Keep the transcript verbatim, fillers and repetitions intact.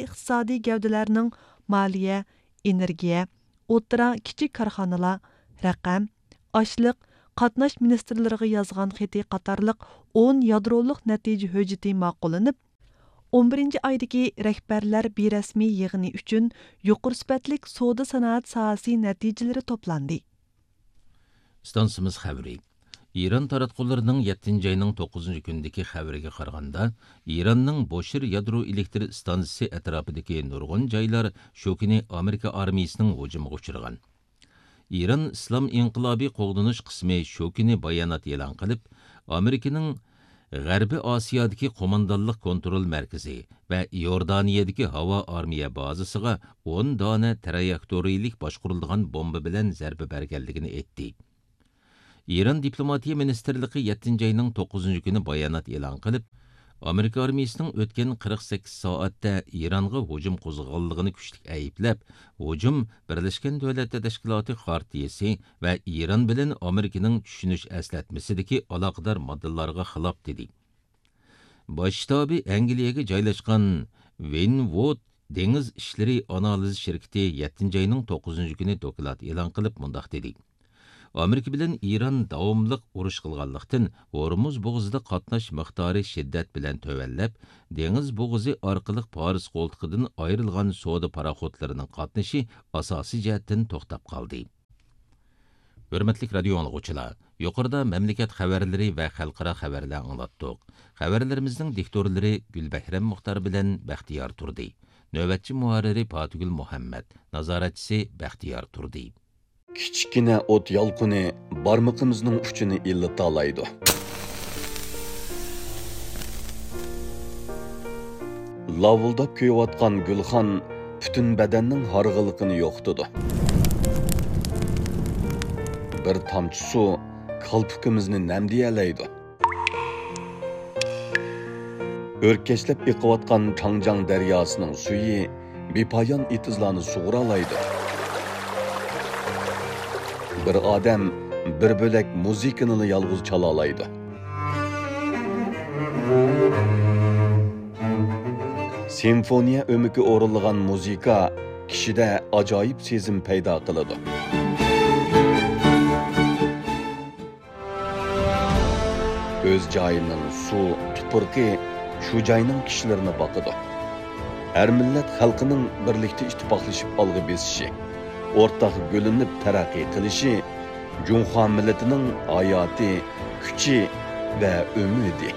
ئىقتىسادىي گەۋدىلەرنىڭ مالىيە، ئېنېرگىيە، ئوتتۇرا، كىچىك كارخانىلار، رەقەم، ئاشلىق، قاتناش مىنىستىرلىرىغا يازغان خېتى قاتارلىق ئون يادرولۇق نەتىجە ھۆججىتى ماقۇللىنىپ، ئون بىرىنچى ئايدىكى رەھبەرلەر بىرەسمىي يىغىنى ئۈچۈن يۇقىرى سۈپەتلىك سودا سانائەت ساھەسى نەتىجىلىرى توپلاندى. ئىستانسىمىز خەۋىرى. ئىران تاراتقۇلىرىنىڭ يەتتىنچى ئاينىڭ توققۇزىنچى كۈنىدىكى خەۋىرىگە قارىغاندا، ئىراننىڭ بوشىر يادرو ئېلېكتر ئىستانسىسى ئەتراپىدىكى نۇرغۇن جايلار شۇ كۈنى ئامېرىكا ئارمىيىسىنىڭ ھۇجۇمىغا ئۇچرىغان. ئىران ئىسلام ئىنقىلابى قوغدىنىش قىسمى شۇ كۈنى بايانات ئېلان قىلىپ، ئامېرىكىنىڭ غەربىي ئاسىيادىكى قوماندانلىق كونترول مەركىزى ۋە ئىئوردانىيەدىكى ھاۋا ئارمىيە بازىسىغا ئون دانە ترايېكتورىيىلىك باشقۇرۇلىدىغان بومبا بىلەن زەربە بەرگەنلىكىنى ئېيتتى. ئىران دىپلوماتىيە مىنىستىرلىقى يەتتىنچى ئاينىڭ توققۇزىنچى كۈنى بايانات ئېلان قىلىپ، ئامېرىكا ئارمىيىسىنىڭ ئۆتكەن قىرىق سەككىز سائەتتە ئىرانغا ھۇجۇم قوزغىغانلىقىنى كۈچلۈك ئەيىبلەپ، ھۇجۇم بىرلەشكەن دۆلەتلەر تەشكىلاتى خارتىيىسى ۋە ئىران بىلەن ئامېرىكىنىڭ چۈشىنىش ئەسلەتمىسىدىكى ئالاقىدار ماددىلارغا خىلاپ، دېدى. باش شتابى ئەنگلىيەگە جايلاشقان ۋېينۋود دېڭىز ئىشلىرى ئانالىز شىركىتى يەتتىنچى ئاينىڭ توققۇزىنچى كۈنى دوكلات ئېلان قىلىپ مۇنداق دېدى: ئامېرىكا بىلەن ئىران داۋاملىق ئۇرۇش قىلغانلىقتىن، ھورمۇز بوغۇزىدا قاتناش مىقدارى شىددەت بىلەن تۆۋەنلەپ، دېڭىز بوغۇزى ئارقىلىق پارس قولتۇقىدىن ئايرىلغان سودا پاراخوتلىرىنىڭ قاتنىشى ئاساسىي جەھەتتىن توختاپ قالدى. ھۆرمەتلىك رادىيو ئاڭلىغۇچىلار، يۇقىرىدا مەملىكەت خەۋەرلىرى ۋە خەلقئارا خەۋەرلەر ئاڭلاتتۇق. خەۋەرلىرىمىزنىڭ دىكتورلىرى گۈلبەھرەم مۇختار بىلەن بەختىيار تۇردى. نۆۋەتچى مۇھەررىرى پاتىگۈل مۇھەممەد، نازارەتچىسى بەختىيار تۇردى. كىچىككىنە ئوت يالقۇنى بارمىقىمىزنىڭ ئۇچىنى ئىللىتالايدۇ. لاۋۇلداپ كۆيۈۋاتقان گۈلخان پۈتۈن بەدەننىڭ ھارغىنلىقىنى يوقىتىدۇ. بىر تامچە سۇ كالپۇكىمىزنى نەمدىيەلەيدۇ. ئۆركەشلەپ ئېقىۋاتقان چاڭجياڭ دەرياسىنىڭ سۈيى بىپايان ئېتىزلارنى سۇغۇرالايدۇ. بىر ئادەم بىر بۆلەك مۇزىكىنىلا يالغۇز چالالايدۇ. سىمفونىيە ئۆمىكى ئورۇنلىغان مۇزىكا كىشىدە ئاجايىپ سېزىم پەيدا قىلىدۇ. ئۆز جايىنىڭ سۇ، تۇپرىقى شۇ جاينىڭ كىشىلىرىنى باقىدۇ. ھەر مىللەت خەلقىنىڭ بىرلىكتە ئىتتىپاقلىشىپ ئالغا بېسىشى، ئورتاق گۈللىنىپ تەرەققىي قىلىشى جۇڭخۇا مىللىتىنىڭ ھاياتى، كۈچى ۋە ئۈمىدى.